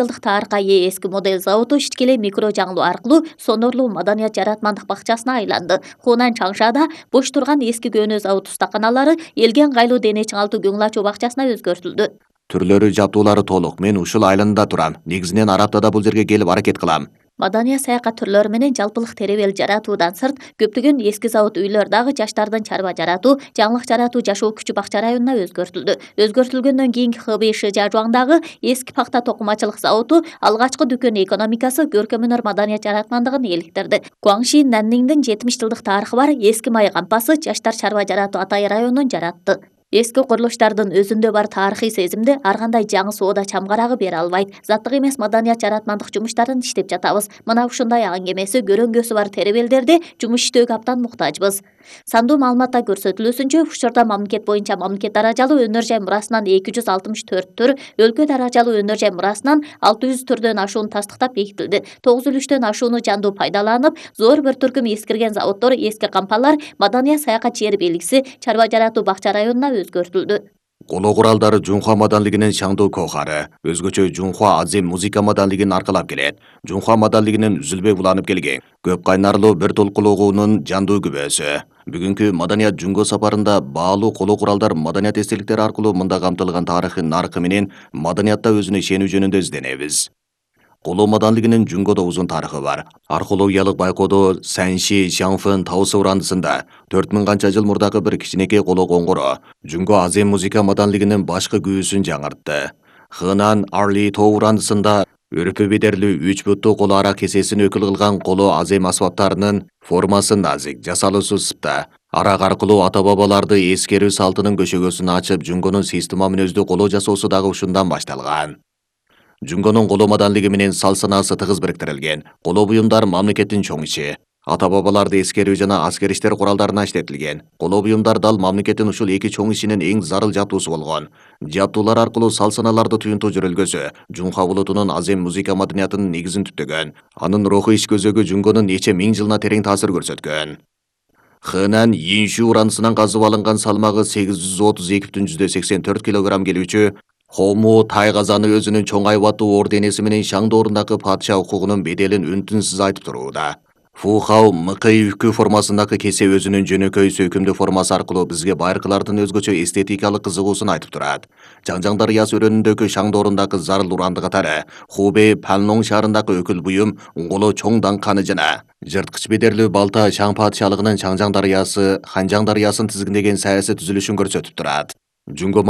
жылдык тарыхка ээ эски модель заводу ишкеле микро жаңылуу аркылуу сонорлуу маданият жаратмандык бакчасына айланды. Хунан Чаңшада бош турган эски көөнө завод устаканалары элге ыңгайлуу дене чыңалтуу көңүл ачуу бакчасына өзгөртүлдү. Түрлөрү, жабдуулары толук. Мен ушул айланада турам. Негизинен ар аптада бул жерге келип аракет кылам. Маданият саякат түрлөрү менен жалпылык теребел жаратуудан сырт көптөгөн эски завод үйлөр дагы жаштардын чарба жаратуу, жаңылык жаратуу жашоо күчү бакча районуна өзгөртүлдү. Өзгөртүлгөндөн кийинки Хэбэй Шижажуаңдагы эски пахта токумачылык заводу алгачкы дүкөн экономикасы көркөм өнөр маданият жаратмандыгын эликтирди. Гуаңши Нанниңдин 70 жылдык тарыхы бар эски май кампасы жаштар чарба жаратуу Атай районун жаратты. Эски курулуштардын өзүндө бар тарыхый сезимди ар кандай жаңы соода чамгарагы бере албайт. Заттык эмес маданият жаратмандык жумуштарын иштеп жатабыз. Мына ушундай аңгемеси көрөңгөсү бар теребелдерде жумуш иштөөгө абдан муктажбыз. Сандуу маалыматта көрсөтүлүүсүнчө, учурда мамлекет боюнча мамлекет даражалуу өнөр жай мурасынан 264 түр, өлкө даражалуу өнөр жай мурасынан 600 түрдөн ашууну тастыктап бекитилди. 903төн ашууну жандуу пайдаланып, зор бір түркүм эскирген заводдор, эски кампалар маданият саякат жер белгиси чарба жаратуу бакча районуна өзгөртүлдү. Коло куралдары Жунхуа маданлыгынын шаңдуу кохары, өзгөчө Жунхуа азем музыка маданлыгын аркалап келет. Жунхуа маданлыгынын үзүлбөй уланып келген көп кайнарлуу бир толкулугунун жандуу күбөсү. Бүгүнкү маданият жунго сапарында баалуу коло куралдар маданият эстеликтери аркылуу мында камтылган тарыхын наркы менен маданиятта өзүнө ишенүү жөнүндө изденебиз. Коло маданлыгынын Жунгодо узун тарыхы бар. Археологиялык байкоодо Санши Шаңфын таысы урандысында 4000 канча жыл мурдагы бир кичинекей коло коңгуроо Жунго азем музыка маданлыгынын башкы күүсүн жаңыртты. Хынан Арли тоо урандысында өрпө бедерлүү 3 буттуу коло ара кесесин өкүл кылган коло азем асбаптарынын формасы назик, жасалуусу сыпта. Арак аркылуу ата бабаларды эскерүү салтынын көшөгөсүн ачып, Жунгонун система мүнөздүү коло жасоосу дагы ушундан башталган. Жунгонун коло маданлыгы менен сал санаасы тыгыз бириктирилген. Коло буюмдар мамлекеттин чоң иши. Ата бабаларды эскерүү жана аскер иштер куралдарына иштетилген. Коло буюмдар дал мамлекеттин ушул эки чоң ишинин эң зарыл жабдуусу болгон. Жабдуулар аркылуу сал саналарды туюнтуу жүрөлгөсү Жунхуа улутунун азем музыка маданиятынын негизин түптөгөн. Анын руху иш көзөгү Жунгонун нече миң жылына терең таасир көрсөткөн. Хынан Йиншу уранысынан казып алынган салмагы 832,84 килограмм келүүчү Хому тайгазаны өзүнүн чоң айбаттуу орденеси менен шаңдоорундагы падыша укугунун беделин үнтүнсүз айтып турууда. Фухау мыкый үкү формасындагы кесе өзүнүн жөнөкөй сөйкүмдүү формасы аркылуу бизге байыркылардын өзгөчө эстетикалык кызыгуусун айтып турат. Жаңжаң дарыясы өрөөнүндөгү шаңдоорундагы зарыл уранды катары Хубэй Панлонг шаарындагы өкүл буюм коло чоң даңканы жана жырткыч бедерлүү балта Чаң падышалыгынын Чаңжаң дарыясы Ханжаң дарыясын тизгиндеген саясий түзүлүшүн көрсөтүп турат. Жунго